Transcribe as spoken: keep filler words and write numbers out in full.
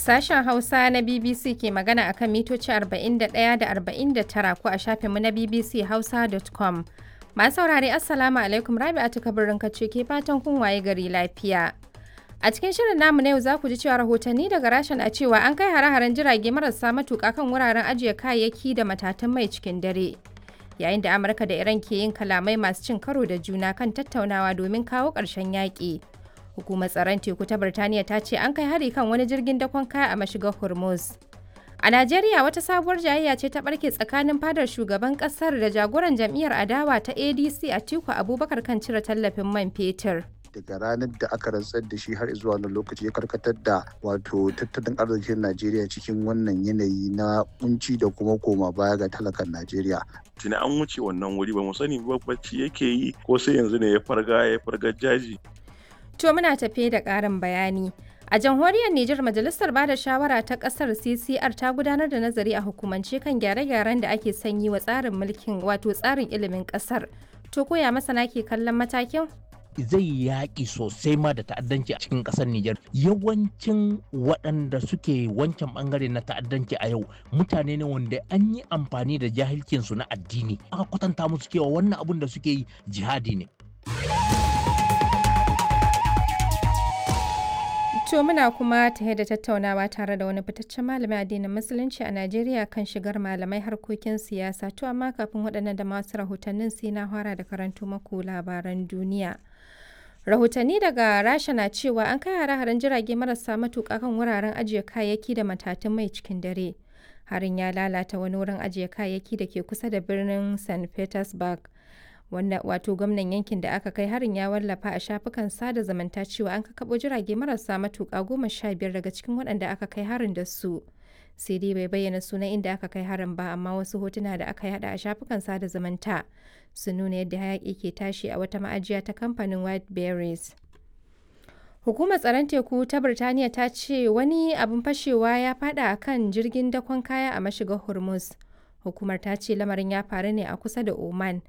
Sashen Hausa na B B C ke magana akan mitoci arba'in da ɗaya da arba'in da tara ko a shafinmu na B B C Hausa dot com. Masu saurare, Assalamu alaikum, Rabi'atu Kabirin ce ke fatan kun waye gari lafiya. A cikin shirin namu na yau za ku ji cewa rahotanni daga Rasha na cewa an kai hare-haren jirage marasa matuƙa kan wuraren ajiye kayayyaki da matatan mai cikin dare. Yayin da Amurka da Iran ke yin kalamai masu cin karo da juna kan tattaunawa domin kawo ƙarshen yaƙi. Hukumar tsaron teku ta Birtaniya ta ce an kai hari kan wani jirgin dakon kaya a mashigar Hormuz. A Najeriya, wata sabuwar jayayya ce ta barke tsakanin fadar shugaban kasar da jagoran jam'iyyar adawa ta A D C Atiku Abubakar kan cire tallafin man fetur. Daga ranar da aka rantsar da shi har zuwa wannan lokaci, ya karkatar da wato tattalin arzikin Najeriya cikin wannan yanayi na kunci da kuma koma baya ga talakan Najeriya. Tuni an wuce wannan wuri, ba mu sani ba bacci yake yi ko sai yanzu ne ya farga ya farga jaji. To, muna tafe da ƙarin bayani. A jamhuriyar Nijar, Majalisar Bada Shawara ta ƙasar C C R ta gudanar da nazari a hukumance kan gyare-gyaren da ake son yi wa tsarin mulkin, wato tsarin ilimin ƙasar. To, koya masana ke kallon matakin? Zai yaƙi sosai ma da ta'addanci a cikin ƙasar Nijar. Yawancin waɗanda suke wancan ɓangare na ta'addanci a yau mutane ne wanda an yi amfani da jahilcinsu na addini. Aka kwatanta musu cewa wannan abun da suke yi jihadi ne. To, muna kuma tare da tattaunawa tare da wani fitaccen malamin addinin Musulunci a Najeriya kan shigar malamai harkokin siyasa. To, amma kafin waɗannan da masu rahotannin, sai na fara da karanto maku labaran duniya. Rahotanni daga Rasha na cewa an kai hare-haren jirage marasa matuƙa kan wuraren ajiye kayayyaki da matatun mai cikin dare. Harin ya lalata wani wurin ajiye kayayyaki da ke kusa da birnin Saint Petersburg. Wanda wato gwamnan yankin da aka kai harin ya wallafa a shafukan sada zumunta cewa an kakabo jirage marasa matuƙa goma sha biyar daga cikin waɗanda aka kai harin da su. Sai dai bai bayyana sunan inda aka kai harin ba, amma wasu hotuna da aka yada a shafukan sada zumunta sun nuna yadda hayaƙi ke tashi a wata ma'ajiya ta kamfanin White Berries. Hukumar tsaron teku ta Birtaniya ta ce wani abin fashewa ya fada a kan jirgin dakon kaya a mashigar Hormuz. Hukumar ta ce lamarin ya faru ne a kusa da Oman.